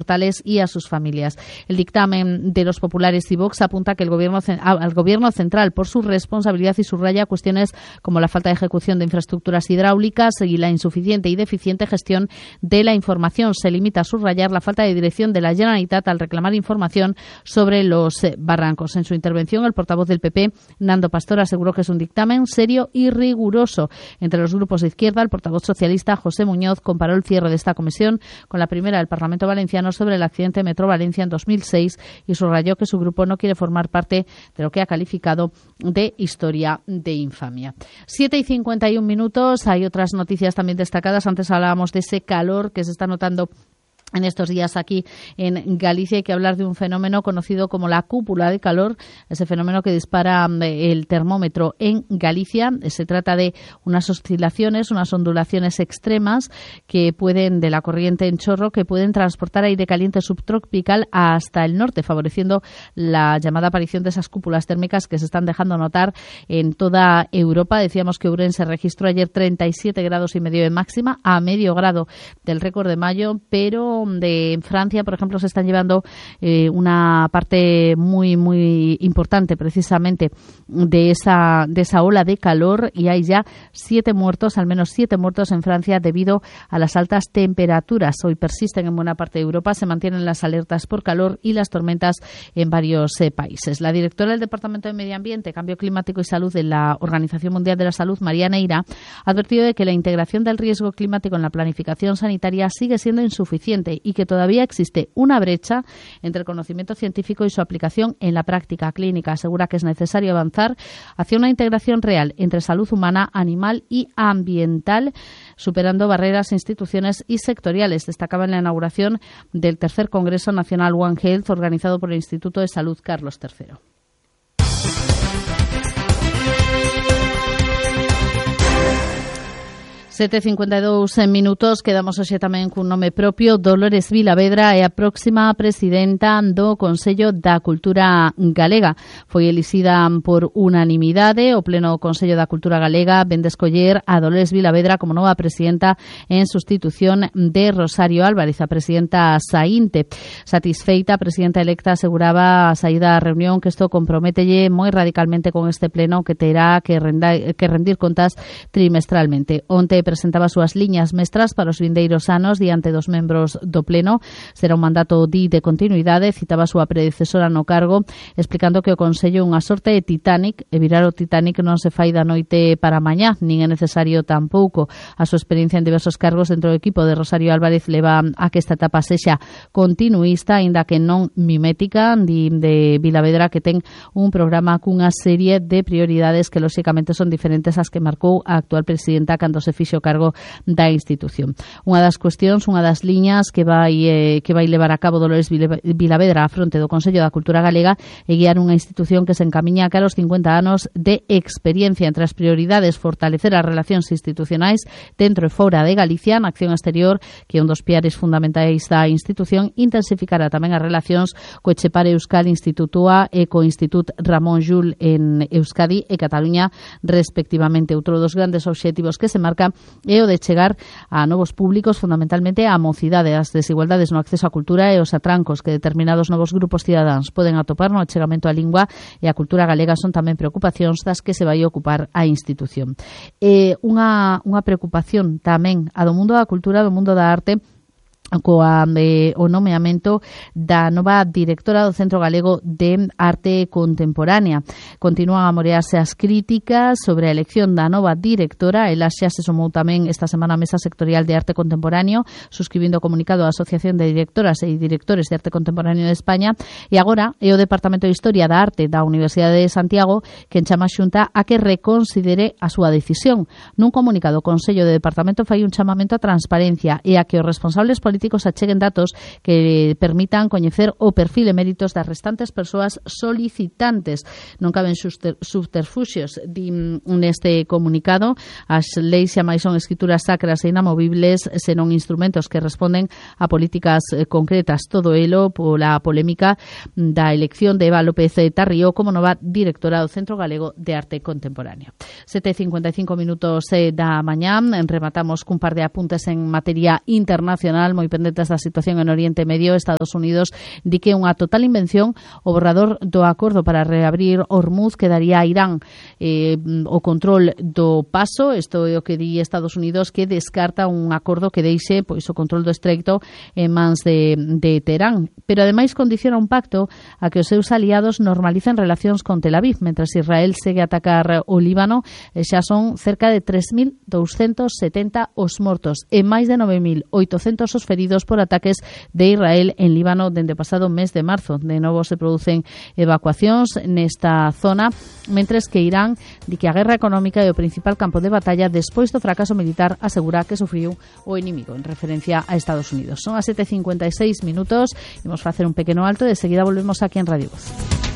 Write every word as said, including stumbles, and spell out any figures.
mortales y a sus familias. El dictamen de los populares y Vox apunta que el gobierno, al Gobierno central por su responsabilidad y subraya cuestiones como la falta de ejecución de infraestructuras hidráulicas y la insuficiente y deficiente gestión de la información. Se limita a subrayar la falta de dirección de la Generalitat al reclamar información sobre los eh, barrancos. En su intervención, el portavoz del P P, Nando Pastor, aseguró que es un dictamen serio y riguroso. Entre los grupos de izquierda, el portavoz socialista, José Muñoz, comparó el cierre de esta comisión con la primera del Parlamento Valenciano sobre el accidente de Metro Valencia en dos mil seis y subrayó que su grupo no quiere formar parte de lo que ha calificado de historia de infamia. Siete y cincuenta y un minutos. Hay otras noticias también destacadas. Antes hablábamos de ese calor que se está notando en estos días aquí en Galicia. Hay que hablar de un fenómeno conocido como la cúpula de calor, ese fenómeno que dispara el termómetro en Galicia. Se trata de unas oscilaciones, unas ondulaciones extremas que pueden, de la corriente en chorro, que pueden transportar aire caliente subtropical hasta el norte, favoreciendo la llamada aparición de esas cúpulas térmicas que se están dejando notar en toda Europa. Decíamos que Ourense registró ayer treinta y siete grados y medio de máxima, a medio grado del récord de mayo, pero de Francia, por ejemplo, se están llevando eh, una parte muy, muy importante precisamente de esa, de esa ola de calor, y hay ya siete muertos, al menos siete muertos en Francia debido a las altas temperaturas. Hoy persisten en buena parte de Europa, se mantienen las alertas por calor y las tormentas en varios eh, países. La directora del Departamento de Medio Ambiente, Cambio Climático y Salud de la Organización Mundial de la Salud, María Neira, ha advertido de que la integración del riesgo climático en la planificación sanitaria sigue siendo insuficiente y que todavía existe una brecha entre el conocimiento científico y su aplicación en la práctica clínica. Asegura que es necesario avanzar hacia una integración real entre salud humana, animal y ambiental, superando barreras, instituciones y sectoriales. Destacaba en la inauguración del tercer Congreso Nacional One Health, organizado por el Instituto de Salud Carlos tercero. sete e cincuenta e dous minutos, quedamos hoxe tamén cun nome propio. Dolores Vilavedra é a próxima presidenta do Consello da Cultura Galega. Foi elixida por unanimidade. O Pleno Consello da Cultura Galega ven de escoller a Dolores Vilavedra como nova presidenta en sustitución de Rosario Álvarez, a presidenta saínte. Satisfeita, a presidenta electa aseguraba a saída da reunión que isto compromételle moi radicalmente con este pleno que terá que, renda, que rendir contas trimestralmente. Onte presentaba as súas liñas mestras para os vindeiros anos diante dos membros do Pleno. Será un mandato di de continuidade. Citaba a súa predecesora no cargo, explicando que o Consello é unha sorte de Titanic, e virar o Titanic non se fai da noite para mañá, nin é necesario tampouco. A súa experiencia en diversos cargos dentro do equipo de Rosario Álvarez leva a que esta etapa sexa continuista, aínda que non mimética, di de Vilavedra que ten un programa cunha serie de prioridades que lóxicamente son diferentes ás que marcou a actual presidenta cando se fixo cargo da institución. Unha das cuestións, unha das liñas que vai eh, que vai levar a cabo Dolores Vilavedra a fronte do Consello da Cultura Galega é guiar unha institución que se encamiña cara aos cincuenta anos de experiencia. Entre as prioridades, fortalecer as relacións institucionais dentro e fora de Galicia, na acción exterior, que é un dos piares fundamentais da institución, intensificará tamén as relacións co Etxepare Euskal Institutua e co Institut Ramón Llull en Euskadi e Cataluña, respectivamente. Outro dos grandes obxectivos que se marca é o de chegar a novos públicos, fundamentalmente a mocidade. As desigualdades no acceso á cultura e os atrancos que determinados novos grupos cidadáns poden atopar no achegamento á lingua e á cultura galega son tamén preocupacións das que se vai ocupar a institución. E unha, unha preocupación tamén a do mundo da cultura, do mundo da arte, coa eh, o nomeamento da nova directora do Centro Galego de Arte Contemporánea. Continúan a morearse as críticas sobre a elección da nova directora. Ela xa se sumou tamén esta semana a Mesa Sectorial de Arte Contemporáneo, suscribindo o comunicado da Asociación de Directoras e Directores de Arte Contemporáneo de España, e agora é o Departamento de Historia da Arte da Universidade de Santiago quen chama a Xunta a que reconsidere a súa decisión. Nun comunicado, o Consello de Departamento fai un chamamento a transparencia e a que os responsables políticos acheguen datos que permitan coñecer o perfil e méritos das restantes persoas solicitantes. Non caben subterfuxios, din neste comunicado. As leis xa máis son escrituras sacras e inamovibles, senón instrumentos que responden a políticas concretas. Todo elo pola polémica da elección de Eva López Tarrío como nova directora do Centro Galego de Arte Contemporáneo. sete e cincuenta e cinco minutos da mañá. Rematamos cun par de apuntes en materia internacional moi moi pendentes da situación en Oriente Medio. Estados Unidos di que unha total invención o borrador do acordo para reabrir Hormuz que daría a Irán eh, o control do paso. Isto é o que di Estados Unidos, que descarta un acordo que deixe pois o control do estreito en mans de, de Teherán. Pero ademais condiciona un pacto a que os seus aliados normalicen relacións con Tel Aviv, mentras Israel segue a atacar o Líbano. E xa son cerca de tres mil douscentos setenta os mortos e máis de nove mil oitocentos os feridos por ataques de Israel en Líbano dende o pasado mes de marzo. De novo se producen evacuacións nesta zona, mentres que Irán di que a guerra económica é o principal campo de batalla despois do fracaso militar, asegura que sufriu o inimigo, en referencia a Estados Unidos. Son as sete e cincuenta e seis minutos, imos facer un pequeno alto e de seguida volvemos aquí en Radio Voz.